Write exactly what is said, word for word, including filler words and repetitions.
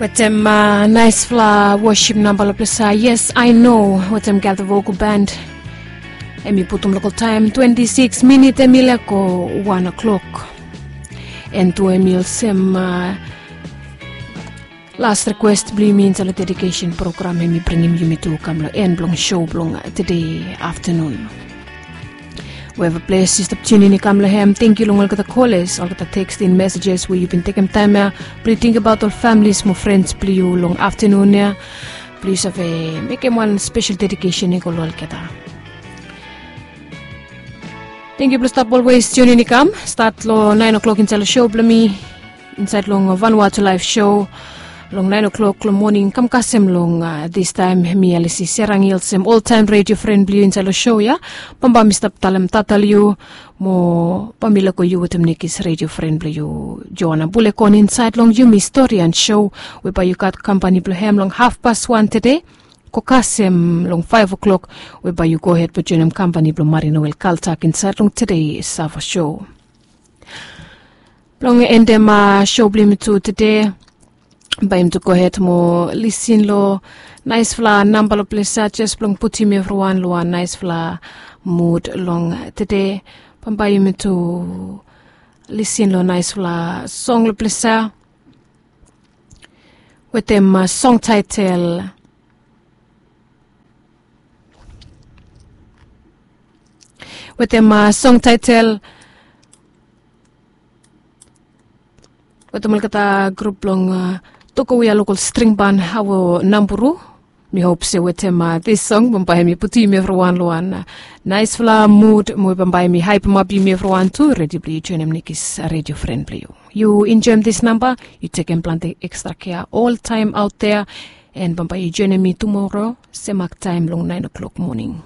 Wetem naisfala wosip namba long ples ya, Yes I Know wetem Gather Vocal Band. Em i putum lokal taem twenti sikis minit em i laik go wan o'klok. En tu em i olsem las rikwes blong yumi insaed long dedikesen program, em i bringim yumi tu kam long en blong sou blong tede aftanun. Weva ples yu stap tiunin i kam long hem, tengkiu long olgeta koles, olgeta teksting mesejes we yu bin tekem taem ya blong yu tingbaot ol familis mo frens blong yu long aftanun ya, blong yu save mekem wan spesel dedikesen i go long olgeta. Tengkiu blong stap olwes tiunin i kam. Stat long naen o'klok insaed long sou blong mi, insaed long Vanuatu Laef Sou. Long naen o'klok long moning kam kasem long distaem, mi Alisi Serang i olsem oltaem redio fren blong yu insaed long sou ya. Bambae mi stap talem tata long yu, mo bae mi lego yu wetem nekis redio fren blong yu, Joana Bulekon, insaed long Yumi Storian Sou, we bae yu gat kampani blong hem long hafpas wan tede go kasem long faef o'klok, we bae yu gohed blong joenem kampani blong Marie Noel Kaltak insaed long tede Sava Sou. Blong endem sou blong yumi tu tede, bae yumi tu gohed mo lisin long naesfala namba long ples ya jes blong putum evriwan long wan naesfala mud long tede. Bambae yumi tu lisin long naesfala song long ples ya wetem song taetel, wetem song taetel wetem olgeta grup blong Tokowia Lokol String Ban, Awo Namburu. Mi hop se wetem dis song bambae mi putum evriwan long wan naesfala mud, mo bambae mi haepemap yumi evriwan tu, redi blong yu joenem nekis redio fren blong yu. Yu enjoem dis namba, yu tekem plante ekstra kea oltaem aot dea. En bambae yu joenem mi tumora semak taem long naen o'klok moning.